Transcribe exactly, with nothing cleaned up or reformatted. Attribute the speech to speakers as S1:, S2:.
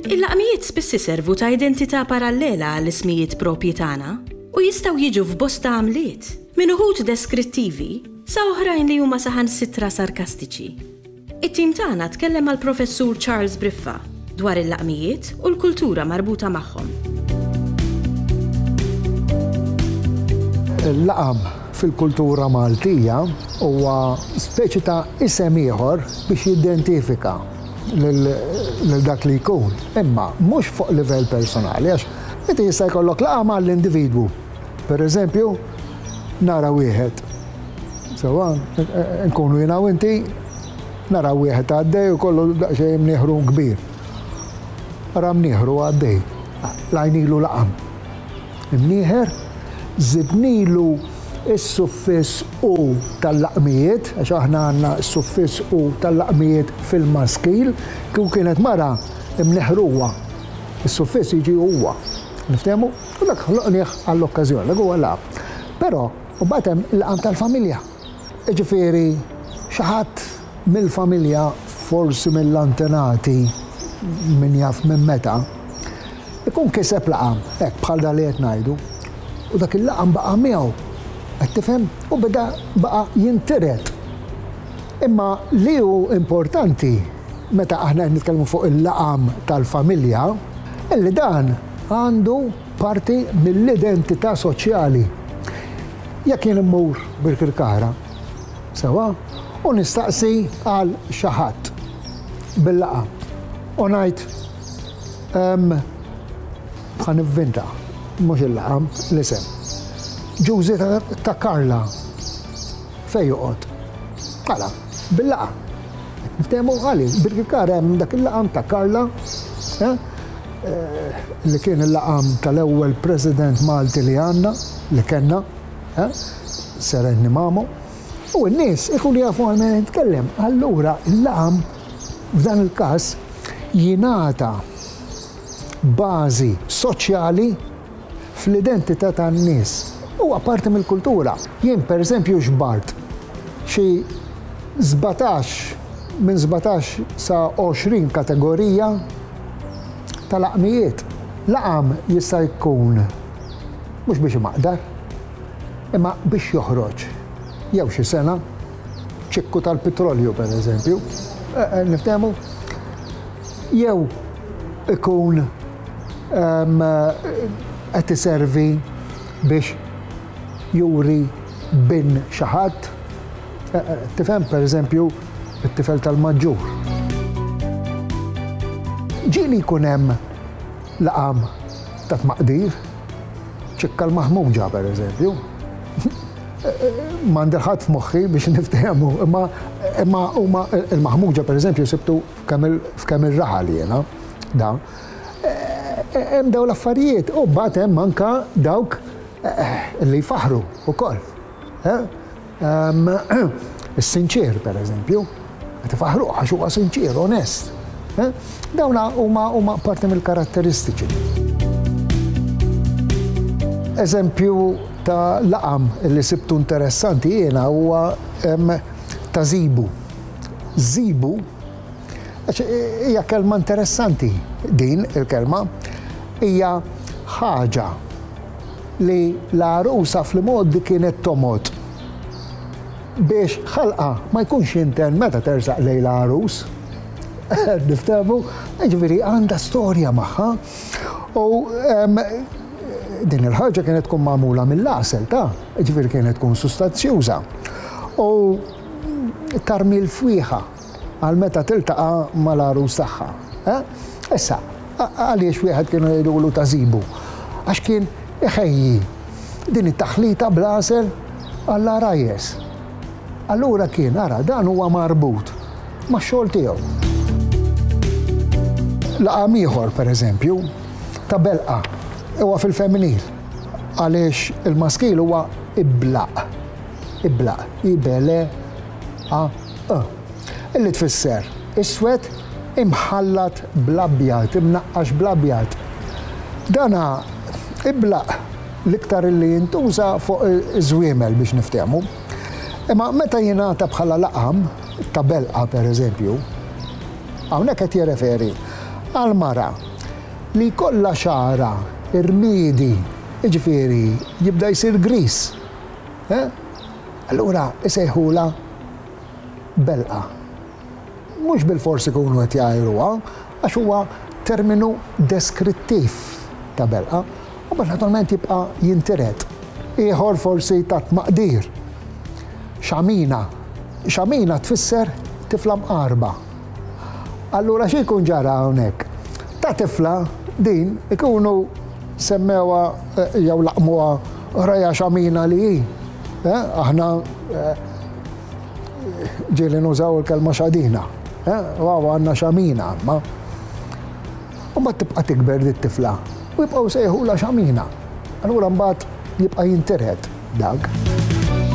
S1: Il-laqmijiet spiss iservu ta' identità parallela għall-ismijiet propji tagħna u jistgħu jiġu f'bosta għamliet, minn uħud deskrittivi sa oħrajn li huma saħansitra sarkastiċi. It-tim tagħna tkellem mal-Professur Charles Briffa dwar il-laqmijiet u l-kultura marbuta magħhom.
S2: Il-laqam fil-kultura Maltija huwa speċi ta' isem ieħor biex jidentifika lil dak li jkun. Imma mhux fuq livell personali, għax inti jista' jkollok laqam għall-individwu. Per eżempju, nara wieħed. Sewwa, nkunu jiena u inti, nara wieħed għaddej u kollu daqsxejn mnieħru kbir. Ara mnieħru għaddej. Lajnilu laqam. Imnieħer, żidnilu is-suffiss u tal-laqmijiet, għax aħna għandna s-suffiss u tal-laqmijiet fil-maskil, kieku kienet mara imneħruwa. Is-suffiss jiġi huwa. Niftehmu? U dak ħloqnieh għall-okkażjoni, dak huwa laqam. Però mbagħad hemm il-laqam tal-familja. Jiġifieri xi ħadd mill-familja, forsi mill-antenati, min jaf minn meta, ikun kiseb laqam, hekk bħal dan li qed ngħidu, u dak il-laqam baqa' miegħu. Qed tifhem? U beda baqa' jintiret. Imma li hu importanti meta aħna qed nitkellmu fuq il-laqam tal-familja, illi dan għandu parti mill-identità soċjali. Jekk jien immur Birkirkara, sewa, u nistaqsi għal xi ħadd bil-laqam u ngħid ħa nivvinta, mhux il-laqam, l-isem. Ġużi ta' Karla, fejn joqgħod? Għala, bil-laqam. Niftehmu għaliex, Birkirkara hemm dak il-laqam ta' Karla, li kien il-laqam tal-ewwel President Malti li għandna, li kellna, Serenni Mamo, u n-nies ikunu jafu għal min jitkellem. Allura il-laqam f'dan il-każ jingħata bażi soċjali fl-identità tan-nies. Huwa parti mill-kultura. Jien pereżempju xbart xi sbatax, minn sbatax sa għoxrin kategorija ta' laqmijiet. Laqam jista' jkun mhux biex imaqdar, imma biex joħroġ jew xi sena, ċikku tal-petrolju pereżempju, niftehmu, jew ikun qed iservi biex juri bin xi ħadd, tifhem pereżempju it-tifel tal-maġġur. Ġieli jkun hemm laqam ta' tmaqdir, ċikka l-maħmuġa pereżempju. M'għandi ħadd f'moħħi biex niftehmu, imma imma huma il-maħmuġa pereżempju sibtu f'kemm ir-raħal jiena da. Hemm dawn l-affarijiet u mbagħad hemm anke dawk li jfaħru wkoll. Is-sinċier pereżempju, qed ifaħruh għax huwa sinċier, onest. Dawn huma huma parti mill-karatteristiċi. Eżempju ta' laqam li sibtu interessanti jiena huwa ta' zibu. Zibu għax hija kelma interessanti din il-kelma, hija ħaġa li l-għarusa fl-imgħoddi kienet tomgħod biex ħalqa ma jkunx jinten meta tersaq lejn l-għarus. Niftehmu, jiġifieri għandha storja magħha. U din il-ħaġa kienet tkun magħmula mill-għasel ta', jiġifieri kienet tkun sustanzjuża. U tarmi l-fwieħa għal meta tiltaqa' mal-għarus tagħha. Issa, għaliex wieħed kienu jgħidulu ta' zibu? Għax kien iħejji din it-taħlita bl-għasel għall-għarajjes. Allura kien, ara, dan huwa marbut max-xogħol tiegħu. Laqam ieħor, pereżempju, ta' belqa, huwa fil-femminil, għaliex il-maskil huwa iblaq. Iblaq, I B L A E. Illi tfisser iswed imħallat bl-abjad, imnaqqax bl-abjad. Dana iblaq l-iktar illi jintuża fuq iż-żwiemel biex niftehmu. Imma meta jingħata bħala laqam ta' belqa pereżempju, hawnhekk qed jirreferi għal mara li jkollha xagħarha irmiedi, jiġifieri jibda jsir griż. Eh? Allura isejħulha belqa. Mhux bilfors ikunu qed jgħajruha, għax huwa terminu deskrittiv ta' belqa, u mbagħad naturalment jibqa' jintiret. Ieħor forsi ta' tmaqdir. Xamina. Xamina tfisser tifla mqarba. Allura xi jkun ġara hawnhekk? Ta' tifla din ikunu semmewha eh, jew laqmuha raja xamina li hi. Eh, aħna eh, ġieli nużaw il-kelma xadina. Waw għandna xamina, ma. U mbagħad tibqa' tikber dit tifla u jibqgħu sejħula xamina. Allura mbagħad jibqa' jintiret dak.